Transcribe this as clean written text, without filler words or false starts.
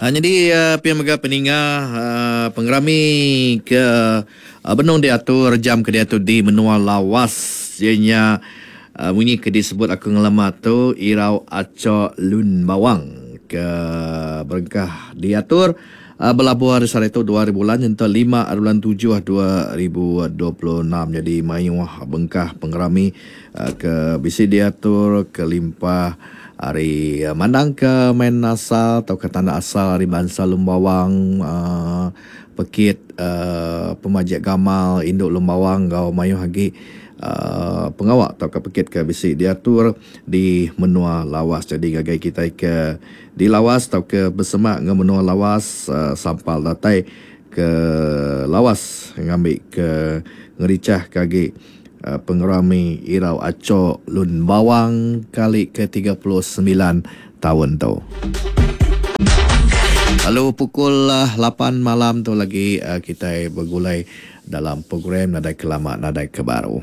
Nyadi pia mega peninga pengerami ke benung diatur jam ke diatu di menua Lawas iya nya munyi ke disebut aku ngelama tu Irau Acho Lun Bawang ke berengkah diatur belabuh ari sehari tu dua hari bulan nyentuk lima hari bulan tujuh 2026 nyadi mayuh bengkah pengerami ke bisi diatur kelimpah ari mandangka main asal tauka tanda asal ari bansa Lumbawang uhh pekit uhh pemajik gamal indu Lumbawang enggau mayuh agi uhh pengawa tauka pekit ke bisi diatur di menua Lawas. Jadi ngagai kitai ke di Lawas tauka besemak enggau menua Lawas uhh sampal datai ke Lawas ngambi ke ngerichahka agi. Pengerami Irau Aco Lun Bawang kali ke 39 taun tu. Lalu pukul lapan malam tu lagi kitai begulai dalam program nadai ke lama nadai ke baru.